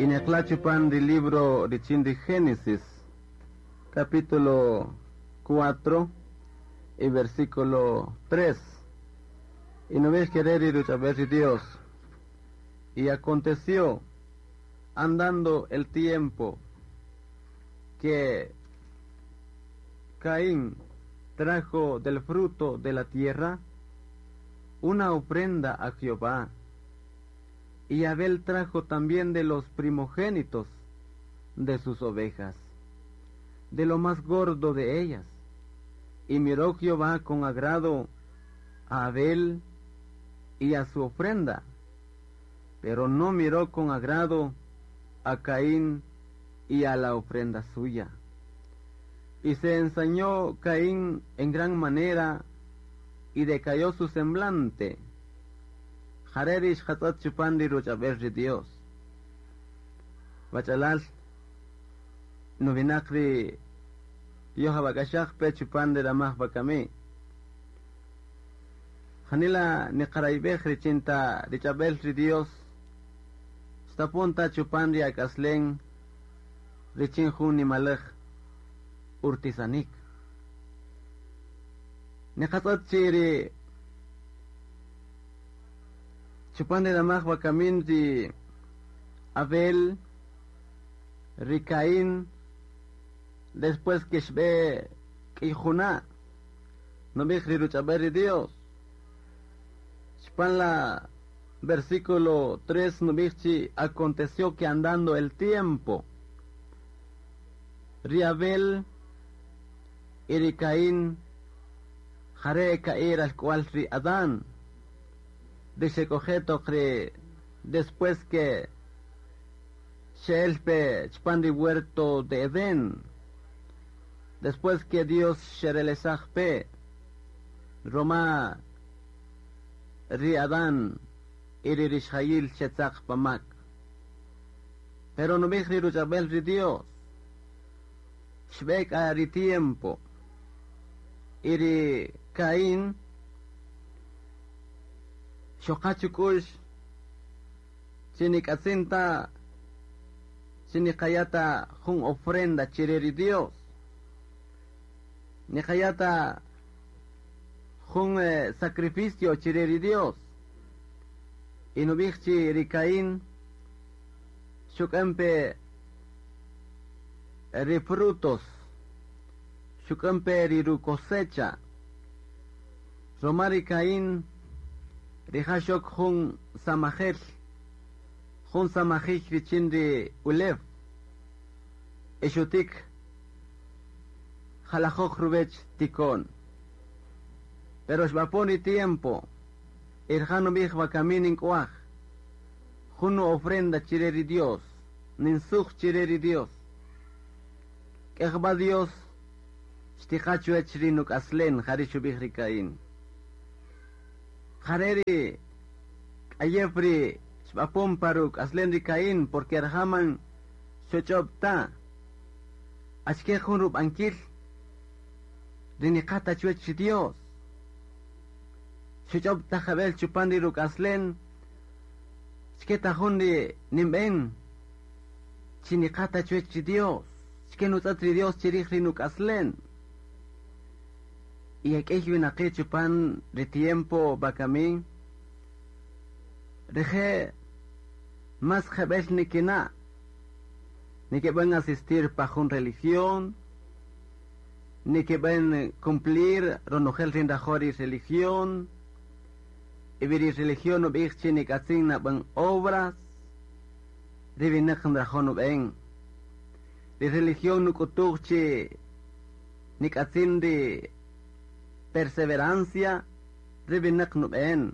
Y chupan del libro de Génesis, capítulo 4 y versículo 3. Y no ves querer ir a ver Dios. Y aconteció, andando el tiempo, que Caín trajo del fruto de la tierra una ofrenda a Jehová. Y Abel trajo también de los primogénitos de sus ovejas, de lo más gordo de ellas. Y miró Jehová con agrado a Abel y a su ofrenda, pero no miró con agrado a Caín y a la ofrenda suya. Y se ensañó Caín en gran manera y decayó su semblante. Jarerish hatzat chupandi ruchabel Dios. Bachalal, novinakri yohabakashak pe chupandi ramah bakami. Janila niqaraibej richinta richabel ri Dios. Stapunta chupandi akaslen richin jun nimalej urtisanik. Niqatzat chiri chupandi ramah bakamin ri Abel ri Caín después que xbe k'ijuna no bij ri ruch'abel ri Dios. Chupan la versículo 3 no chi aconteció que andando el tiempo ri Abel y ri Caín jare caer al cual ri Adán de xekojeto ri después que xelpe chupan ri huerto de Edén, después que Dios xerelesaj pe Roma ri Adán y ri rixjayil xetzaq pamak. Pero no bij ri ruch'abel ri Dios xb'ek a ri tiempo y ri Caín xoqachuk'ux chinik'atzinta chiniqayata jun ofrenda chire ri Dios, niqayata jun sacrificio chire ri Dios. Y no bij chi ri Caín xuk'anpe ri frutos, xuk'anpe ri ru cosecha. Roma ri Caín rija' xok jun samajel, jun samajij richin ri ulew, exutik jalajoj ruwech tikon. Pero xb'apon ri tiempo, irja' nub'ij wakamin nink'uaj jun ofrenda chire ri Dios, ninsuj chire ri Dios. K'ejb'a Dios xtiqa chuwech ri nuk'aslen, jari' xub'ij ri Caín. Jare' ri k'ayew ri xb'apon pa ruk'aslen ri Caín, porque raja' man xoch'ob ta achke jun rub'ankil ri niqata chuwech ri Dios. Xoch'ob ta jab'el chupan ri ruk'aslen achke ta jun ri ninb'en chi niqata chuwech ri Dios, achke nutz'at ri Dios chirij ri nuk'aslen. Y ak'ey winaqi' chupan ri tiempo bakamin rije' mas jeb'el nikina' nikib'an asistir pa jun religión, nikib'an cumplir ronojel ri nrajo' ri religión, y ri religión nub'ij chi nik'atzin nab'an obras ri winaq nrajo' nub'en. Ri religión nuk'utuj chi nik'atzin ri perseverancia ri winaq nub'en.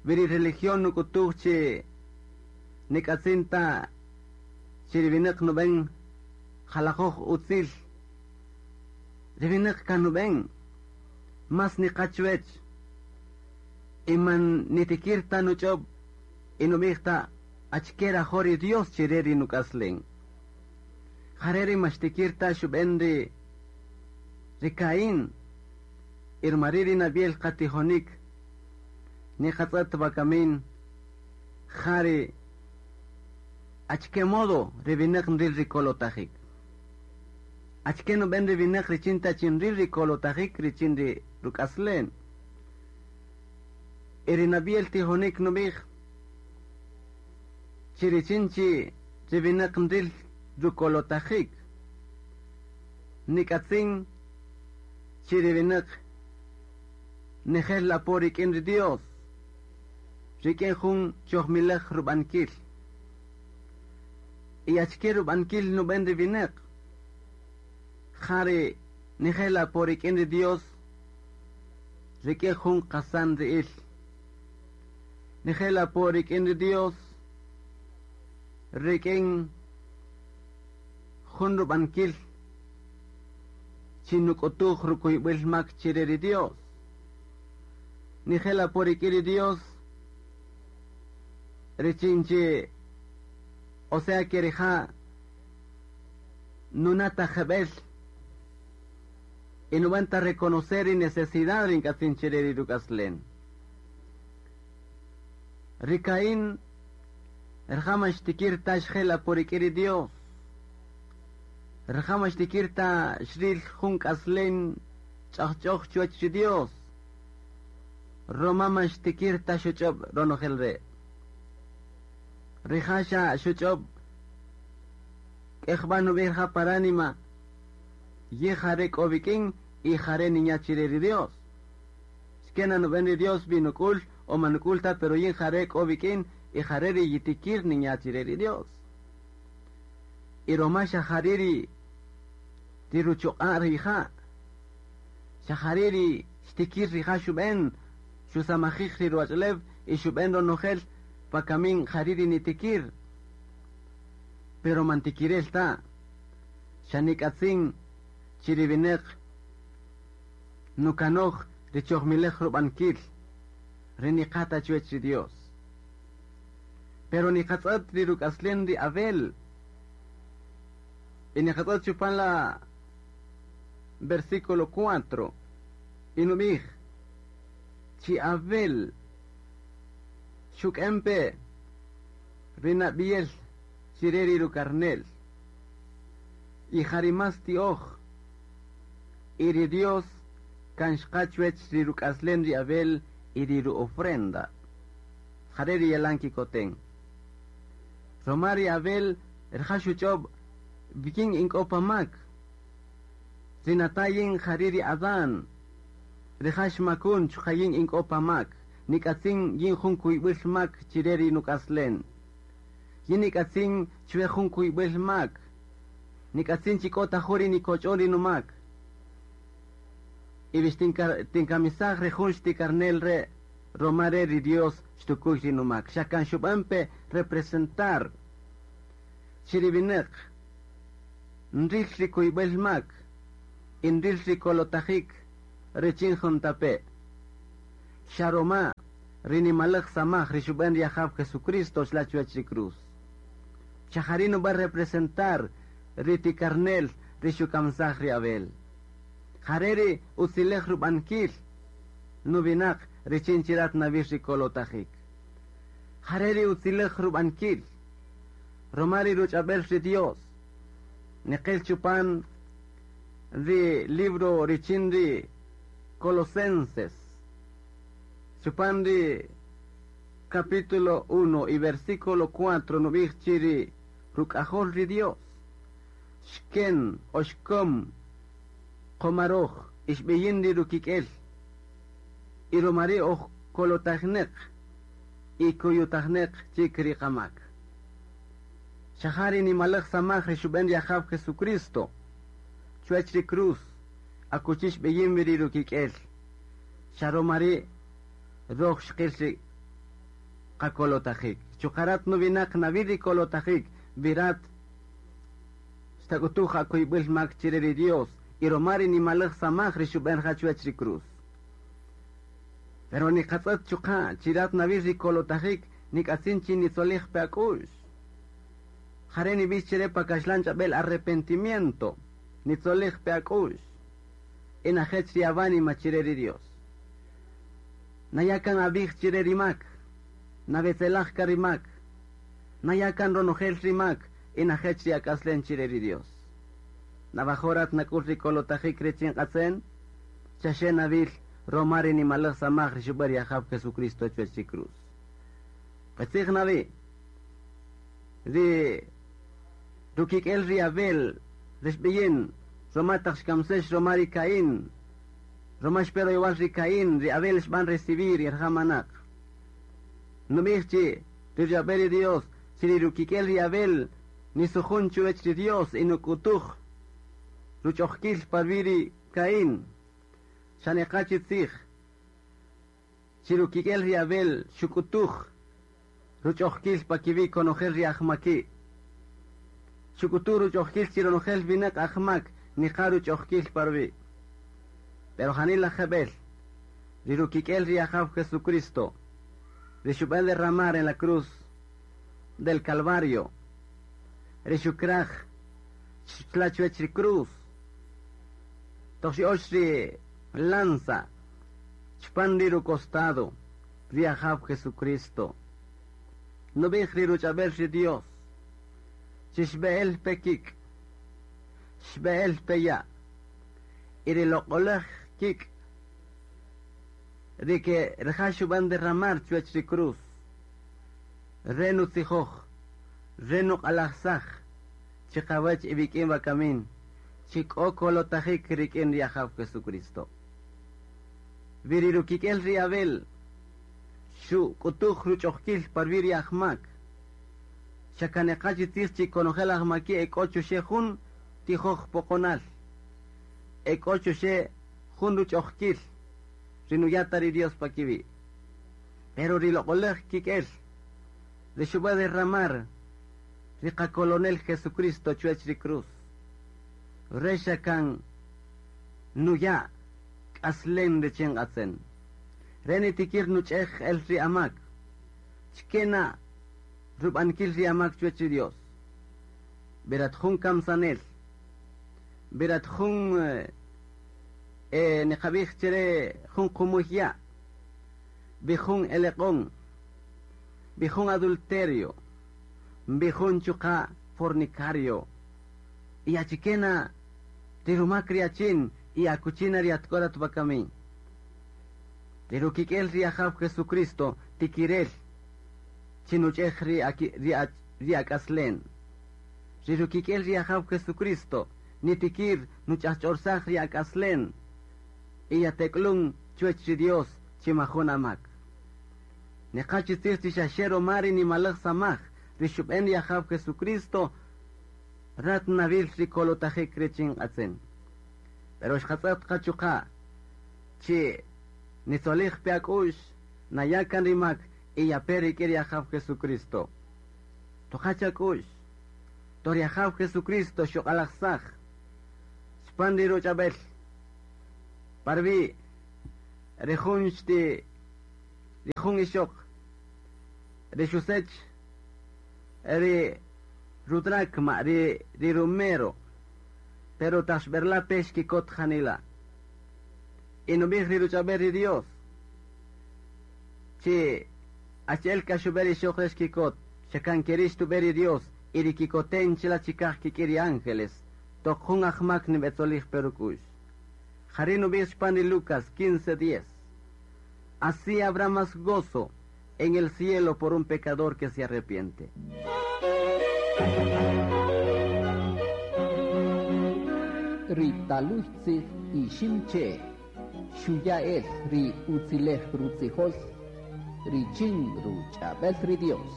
Ri religión nuk'utuj chi nik'atzin ta chi ri winaq nub'en jalajoj utzil, ri winaq kan nub'en mas niqa chuwech y man nitikir ta nuch'ob y nub'ij ta achke rajo' ri Dios chire ri nuk'aslen. Jare' ri maxtikir ta xub'en ri Caín, irmari ri nabiel qatijonik niqatz'at wakamin jari Achke modo ri wineq nril ri kolotajik? Achke nub'en ri wineq richin ta chi nril ri kolotajik richin ri ruk'aslen? Y ri nab'iel tijonik nub'ij chi richin chi ri wineq nril rukolotajik, nik'atzin chi ri wineq nijel apo rik'in ri Dios, rik'in jun chojmilej rub'ankil. Y achke rub'ankil nub'en ri wineq? Ja ri nijel apo rik'in ri Dios, rik'in jun qasan ri'il. Nijel apo rik'in ri Dios, rik'in jun rub'ankil chi nuk'utuj rukuyb'il mak chire ri Dios. Nijel apo rik'in ri Dios, richin chi, o sea que rija' nunata jeb'el y nub'an ta reconocer ri necesidad ri nk'atzin chire ri ruk'aslen. Ri Caín rija' man xtikir ta xjel apo rik'in ri Dios. Rija' man xtikir ta xril jun k'aslen ch'ajch'oj chuwach ri Dios. Roma man xtikir ta xuch'ob' ronojel re'. Rija' xa xuch'ob' k'ejb'a nub'ij rija' pa ránima, ye jare' k'o wik'in y jare' ninya' chire ri Dios. Xkena nub'en ri Dios vi nuk'ul o man nuk'ul ta, pero yin jare' k'o wik'in y jare' ri yitikir ninya' chire ri Dios. Y roma xa jare' ri ruchuq'a' rija', xa jare' ri xtikir rija' xub'en, xusamajij ri ruwach'ulew y xub'en ronojel pa kamin jare' ri nitikir. Pero man tikirel ta, xa nik'atzin chi ri wineq nukanoj ri chojmilej rub'ankil, ri niqata chuwech ri Dios. Pero niqatz'ët ri ruk'aslen ri Abel, y niqatz'ët chupan la versículo 4, y nub'ij, chi Abel xuk'empe ri nab'iel chire ri rukarnel, y jari más ti'oj, y ri Dios kan xqa chuwech ri ruk'aslen ri Abel y ri ru-ofrenda. Jare ri yalan kikoten. Roma ri Abel rija' xuch'ob' bikin ink'o pa mak. Ri natayin jari ri Adán. Rija' xmakun chuqa' yin ink'o pa mak. Nik'atzin yin jun kuyb'il mak chire ri nuk'aslen. Yin nik'atzin chwe jun kuyb'il mak. Nik'atzin chi k'o ta jun ri nikoch'on ri numak. Y bix tinkamisaj ri jun xtikarnel re' roma re ri Dios xtukuy ri numak. Xa kan xub'an pe representar chi ri wineq nril ri kuyb'il mak y nril ri kolotajik richin juntape'. Xa roma ri nimalej samaj ri xub'en ri Ajaw Jesucristo xla chuwach ri cruz. Xa jari' nub'an representar ri tikarnel ri xukamsaj ri Abel. Jare' ri utzilej rub'ankil nuwinaq richin chirat nawil ri kolotajik. Jare' ri utzilej rub'ankil roma ri ruch'ab'el ri Dios. Niqil chupan ri libro richin ri Colosenses. Chupan ri capítulo 1 y versículo 4 nub'ij chi ri ruk'ajol ri Dios. Xken o xkom qomaroj ixb'iyin ri rukik'el. Y romari oj kolotajneq y kuyutajneq chik ri qamak. Xa jari nimalej samaj ri xub'en ri Ajaw Jesucristo. Chuwach ri cruz akuchi xb'iyin wi ri rukik'el. Xa romari roj xqil ri qakolotajik. Chuqarat nuwinaq nawil ri kolotajik virat xtak'utuj akuyb'il mak chire ri Dios y romari nimalej samaj ri xub'en ja chuwach ri cruz. Pero niqatz'ët chuqa' chirat nawil ri kolotajik nik'atzin chi nitzolij pe ak'u'x. Jare' nib'ix chire pa kaxlan ch'ab'el arrepentimiento. Nitzolij pe ak'u'x. Y najech ri awánima chire ri Dios. Nayakan ab'ij chire ri mak. Nawetzelaj ka ri mak. Nayakan ronojel rimak y najech ri ak'aslen chire ri Dios. Navajorat nak'ul ri kolotajik richin q'atzen, xaxe nawil roma ri nimalaj samaj ri xub'än ri Ajaw Jesucristo chuwech ri cruz. Qitzij na wi, ri rukik'el ri Abel ri xb'iyin roma taq xkamsex roma ri Caín, roma xpe royowal ri Caín, ri Abel xb'an recibir y rija' manaq. Nub'ij chi ri ruch'ab'el ri Dios, chi ri rukik'el ri Abel nisujun chuwech ri Dios y nuk'utuj ruch'ojkil pa ruwi' ri Caín. Xa neqa chi tzij, chi rukik'el ri Abel xuk'utuj ruch'ojkil pa kiwi' konojel ri ajmaki'. Xuk'utuj ruch'ojkil chi ronojel winäq ajmak niqa ruch'ojkil pa ruwi'. Pero janila jeb'el, ri rukik'el ri Ajaw Jesucristo, ri xub'än derramar en la cruz del Calvario, ri xukraj chla chuwech ri cruz, toq xya'ox ri lanza chpan ri rucostado ri Ajaw Jesucristo. Nub'ij ri ruch'ab'el ri Dios, chi xb'e'el pe kik', xb'e'el pe ya', y ri loq'olaj kik' ri ke rija' xub'än derramar chuwech ri cruz, re nutzijoj, re nuq'alajsaj, chiqawech iwik'in wakamin, chi k'o kolotajik rik'in ri Ajaw Jesucristo. Wi ri rukik'el ri Abel xuk'utuj ruch'ojkil pa ruwi' ri ajmak, xa kaneqa chi tzij chi konojel ajmaki' e k'o chuxe' jun tijoj poqonal, e k'o chuxe' jun ruch'ojkil ri nuya' ta ri Dios pa kiwi'. Pero ri loq'olaj kik'el ri xub'än derramar ri qakolonel Jesucristo chuwech ri cruz, re xa kan nuya' k'aslen richin q'atzen. Re nitikir nuch'ej el ri amak, chkena rub'ankil ri amak chuwech ri Dios. Berat jun kamsanel, berat jun niqab'ij chere jun qumuy ya', bi jun eleq'on, bi jun adulterio, bi jun chuqa' fornicario. Y achikena ri rumak ri achin y akuchina ri atk'orat wakamin. Ri rukik'el ri Ajaw Jesucristo tikirel chi nuch'ej ri ak'aslen. Ri rukik'el ri Ajaw Jesucristo nitikir nuch'ajch'orsaj ri ak'aslen y yatek'lun chuwech ri Dios chi majun amak. Neqa chi tzij chi xaxe roma ri nimalaj samaj ri xub'än ri Ajaw Jesucristo rat nawil ri kolotajik richin q'atzen. Pero xqatz'ët qa chuqa' chi nitzolij pe ak'u'x naya' kan ri mak y yape rik'in ri Ajaw Jesucristo. Toqa chak'u'x, to ri Ajaw Jesucristo xuq'alajsaj chpan ri ruch'ab'el pa ruwi' ri jun xti ri jun ixoq ri xusech ri rudracma ri rumero, pero taq xb'erla pe xkikot janila. Y nub'ij ri ruch'ab'el ri Dios chi achi'el k'a xub'än ri ixoq re xkikot, xa kan keri' xtub'än ri Dios y ri kikoten chila chikaj kik'in ri ángeles, toq jun ajmak nib'etzolij pe ruk'u'x. Jari' nub'ij chpan ri Lucas 15:10. Así habrá más gozo en el cielo por un pecador que se arrepiente. Ri taluy tzij Iximche', xuya' el ri utzilej rutzijol richin ruch'ab'el ri Dios.